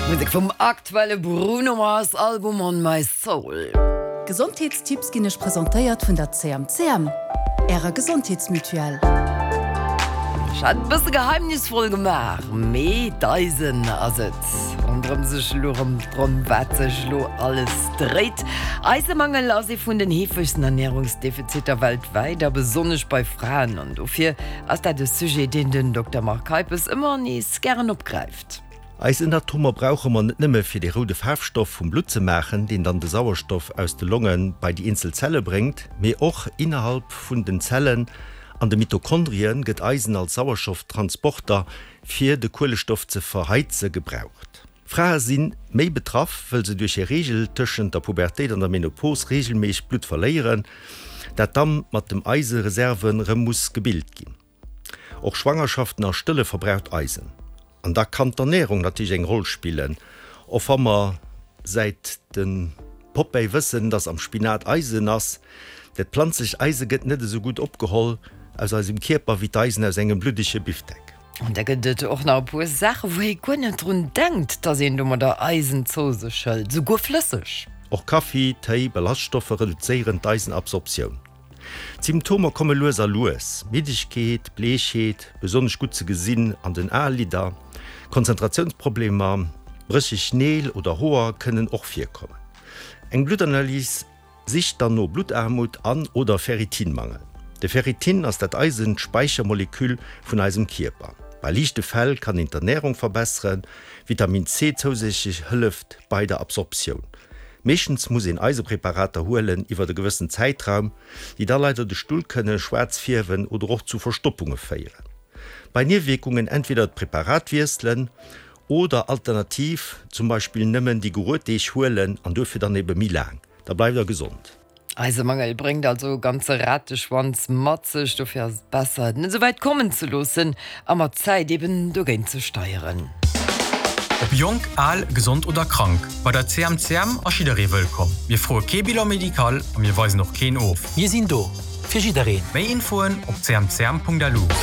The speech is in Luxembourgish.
Musek vum aktuelle Bruno Mars Album On My Soul. Gesondheetstipps ginn Iech presentéiert vun der CMCM, Ärer Gesondheetsmutuelle. Ech hat et e bësse geheimnisvoll gemaach, mee d'Eisen ass et, ronderëm sech elo erëm drëm wat sech elo alles dréit. Eisemangel ass ee vun den heefegsten Ernärungsdefiziter weltwäit a besonnesch bei Fraen. An dofir ass dat e Sujet, deen den Dokter Marc Heipes ëmmer nees gären opgräift. Eisenatomer brauche mer net nëmme fir dee roude Faarfstoff vum Blutt ze maachen, deen dann de Sauerstoff aus de Longe bei déi eenzel Zelle bréngt, mee och innerhalb vun den Zellen an de Mitochondrie gëtt Eisen als Sauerstofftransporter fir de Kuelestoff ze verheize gebraucht. Frae si méi betraff, wëll se duerch hir Reegel tëschent der Pubertéit an der Menopos reegelméisseg Blutt verléieren, dat da mat dem Eisereserven rëm muss gebilt ginn. Och Schwangerschaften a Stëlle verbraucht Eisen. An da kann d'Ernärung natierlech eng Roll spillen, och wa mer säit de Popeye wëssen, dass am Spinat Eisen ass. Dat planzlecht Eise gëtt net esou gutt opgeholl aus eisem Kierper wéi d'Eisen aus engem bluddege Bifdeck. An da gëtt et och nach e puer Saachen, wou ee guer net drun denkt, dass een domadder Eisen zou sech hëlt, souguer flësseg. Och Kaffi, Téi, Ballaststoffer reduzéieren d'Eisenabsorptioun. D'Symptomer komme lues a lues, Middegkeet, Bleechheet, besonnesch gutt ze gesinn an den Aelidder, Konzentratiounsproblemer, brécheg Neel oder Hoer kënnen och virkommen. Eng Bluttanalys sicht dann no Bluttarmut an oder Ferritinmangel. De Ferritin ass dat Eisenspäichermoleküll vun eisem Kierper. Bei liichte Fäll kann een d'Ernärung verbesseren, Vitamin C zousätzlech hëlleft bei der Absorptioun. Meeschtens muss een Eisepreparater huelen iwwert e gewëssen Zäitraum, déi da leider de Stull kënne schwaarz fierwen oder och zu Verstoppunge féieren. Bei Niewierkungen entweder d'Preparat wiesselen oder alternativ zum Beispill nëmmen déi geruet Deeg huelen an duerfir dann ebe méi laang. Da bleift der gesond. Eisemangel bréngt also e ganze Rateschwanz mat sech. Dofir ass et besser, et net esou wäit kommen ze loossen a mat Zäit eben dogéint ze steieren. Ob jonk, al, gesond oder krank, bei der CMCM ass jidderee wëllkomm. Mir froe kee Bilan médical a mir weisen och keen of. Mir sinn do fir jiddereen. Méi Infoen op cmcm.lu.